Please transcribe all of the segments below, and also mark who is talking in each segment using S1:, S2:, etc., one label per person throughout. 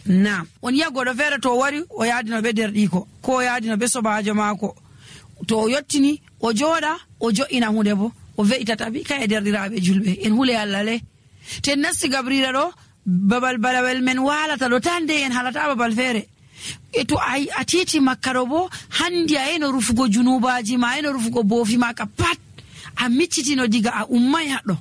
S1: Naam, on yi'a goɗɗo feere to wari o yaadino ɓe derɗiko ko o yaadino ɓe sobajo maako, to o yottini o jooɗa o jo'ina hunde bo o ve'itata bi kay e derɗiraaɓe julɓe en hule Allah le to en nasti gabrira ɗo babal balawel men waalata ɗo tan de en halata babal feere e to a titi makka ɗo bo handi a eno rufugo junubaji ma eno rufugo boofi ma ka pat a miccitino diga a ummai haɗɗo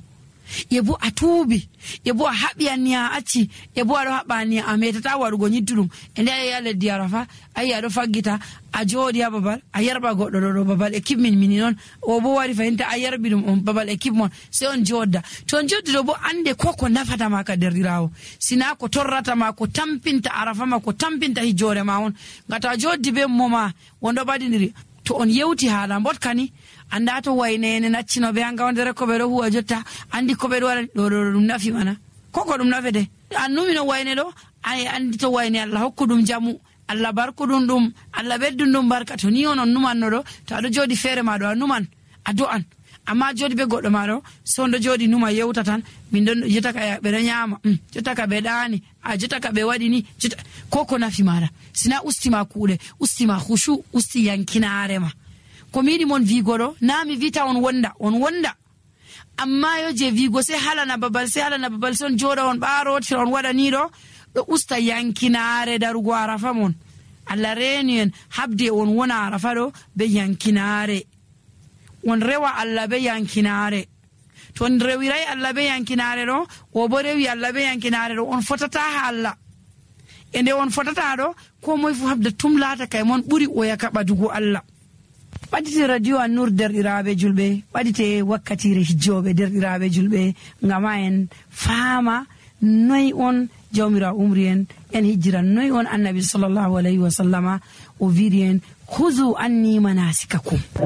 S1: e bo a tuubi e bo a haɓi anniya a acci e bo aɗo haɓa anniya a metata waɗugo nyidduɗum e nde ayi a leddi Arafa ayi aɗo faggita a jooɗi ha babal a yarɓa goɗɗo ɗo babal équipe mini noon o bo wari fahinta a yarɓi ɗum on babal équipe mon sey on jodda to on joddi ɗo bo ande ko nafata ma ka derɗirawo sina ko torrata ma ko tampinta Arafa ma ko tampinta hijjore ma on ngata a joddi be moma wonɗo ɓaɗiniri to on yewti haala mbotkani anda to waynene naccino ɓe hanga wondere ko ɓe ɗo huwa jotta andi ko ɓe ɗo waɗa ɗo ɗum nafi mana koko ɗum nafete annumino wayne ɗo ay andi to wayne Allah hokku ɗum jamu Allah barkuɗum ɗum Allah ɓeddum ɗum barka to ni on numanno ɗo to aɗo jooɗi feere ma ɗo a numan a do'an amma jooɗi ɓe goɗɗo ma ɗo so on ɗo jooɗi numa yewta tan min ɗon jottaka ɓe ɗo ñaama jottaka ɓe ɗaani a jottaka ɓe waɗi ni ko nafi maɗa sina ustima kuuɗe ustima hushu usti yankinaare ma ko mi yiɗi mon vigo ɗo na mi vita on wonda amma yo je vigo sai halana babal son joɗa on ɓaarotira on waɗa ni ɗo usta yankinaare darugo Arafa mon Allah reeni en habde on wona Arafa ɗo be yankinaare on rewa Allah be yankinaare to on rewirai Allah be yankinaare ɗo o bo rewi Allah be yankinaare ɗo on fotata ha Allah e nde on fotata ɗo ko moye fu habda tum laata kay mon ɓuri o yaka ɓadugo Allah. ɓaɗite radio An-Nur derɗiraɓe julɓe ɓaɗite wakkatire hijjoɓe derɗiraɓe julɓe ngama en faama noy on jawmira umri en hijjiran noy on annabi sallallahu alayhi wa sallama o wiiri en huzu anni manasikakum